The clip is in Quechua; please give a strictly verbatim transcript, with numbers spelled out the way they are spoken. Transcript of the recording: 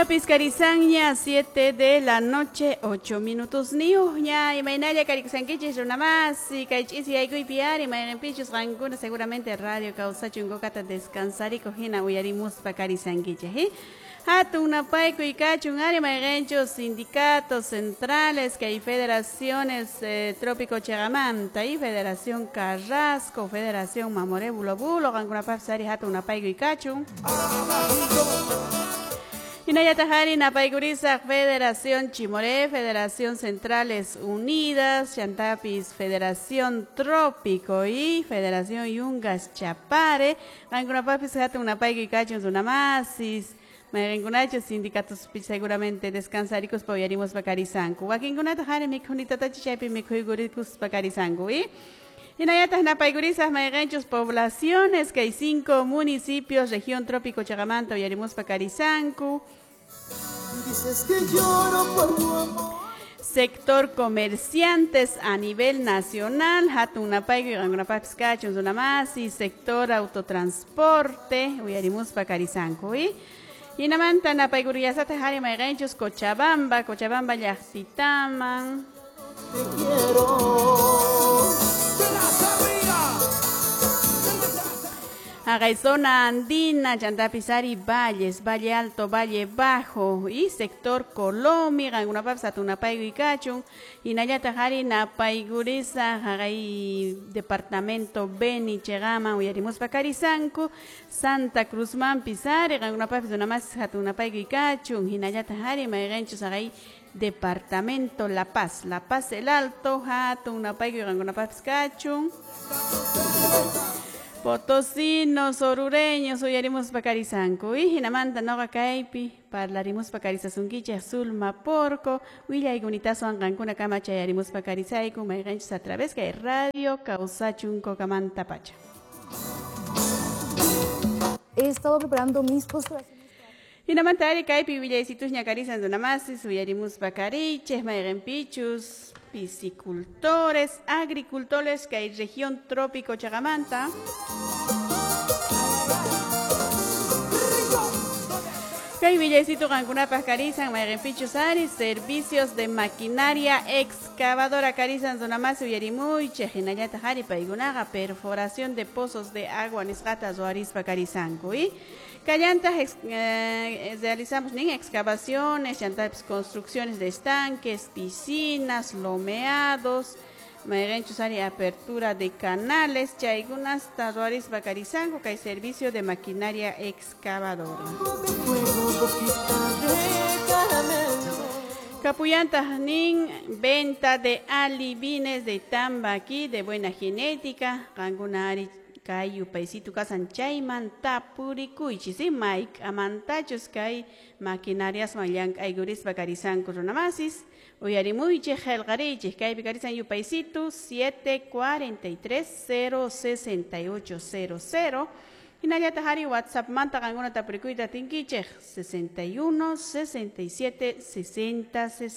Piscarizanña, siete de la noche, ocho minutos niuña, imaynalla karikusankichis runamasi, kay ch'isi yaykuypi ari, mayqinpichus qankuna seguramente radio kawsachun kukata descansarikuq hina uyarimuspa karisankichis, ¿eh? Hatun napaykuy kachun ari mayqinchus sindicatos centrales kay federaciones eh, Trópico Chegamanta y Federación Carrasco, Federación Mamoré Bulo Bulo, qankunapaqpis ari hatun napaykuy kachun. Hinallataq ari napaykurisaq Federación Chimoré, Federación Centrales Unidas, Chantapis Federación Trópico y Federación Yungas Chapare. Qankunapaqpis hatun napaykuy kachun runamasis. Mayqinkunachu sindicatos seguramente descansarikuspa uyarimuspa karisanku. Wakinkunataq ari mikhunitatachu chaypi mikhuykuruspa karisanku, ¿y? Hinallataq napaykurisaq mayqinchus poblaciones que hay cinco municipios, región Trópico Chagamanta, uyarimuspa karisanku. Dices que lloro por tu amor. Sector comerciantes a nivel nacional, hatun napaykuy qankunapaqpis kachun runamasi, sector autotransporte, uyarimuspa karisanku, ¿y? Hinamanta napaykuriyasataq ari mayqinchus Cochabamba, Cochabamba llaqtitaman. Te quiero. Haqay zona andina, chantapis ari valles, Valle Alto, Valle Bajo y sector Colomi, qankunapaqpis hatun napaykuy kachun. Hinallataq ari napaykurisaq haqay departamento Beni Chegaman uyarimuspa karisanku, Santa Cruzmanpis ari qankunapaqpis runamasis hatun napaykuy kachun. Hinallataq ari mayqinchus haqay departamento La Paz, La Paz el Alto, hatun napaykuy qankunapaqpis kachun. Potosinos, orureños, uyarimuspa karisanku. Y hinamanta noqa kaypi parlarimuspa karisasunkichik Zulma Porco, willaykunitawan qankuna kama chayarimuspa karisayku mayqinchis a través kay radio kawsachun kokamanta pacha. He estado preparando mis postulaciones. Hinamanta ari kaypi willaysitusña karisan runamasis, uyarimuspa karichik mayqinpichus piscicultores, agricultores kay región Trópico Chagamanta. Kay willaysitu qankunapaq karisan mayqinpichus ari servicios de maquinaria excavadora karisan runamasi uyarimuychik hinallataq ari paykunaqa perforación de pozos de agua nisqata ruwarispa karisanku, ¿y? Kallantaq ex, eh, realizamos nin excavaciones, chantapis construcciones de estanques, piscinas, lomeados, mayqinchus ari apertura de canales, chaykunasta ruwarispa karisanku kay servicio de maquinaria excavadora. Kapuyantaq nin venta de alibines de tambaqui de buena genética, qankuna ari kay yupaysitu kasan chayman tapurikuychis, ¿sí? Mayk'amantachus kay maquinariaswan llank'aykurispa karisanku runamasis, uyarimuychik qillqariychik kaypi karisan yupaysitu siete cuarenta y tres cero sesenta y ocho cero cero. Hinallataq ari WhatsAppmanta qankuna tapurikuyta atinkichik sesenta y uno sesenta y siete sesenta sesenta.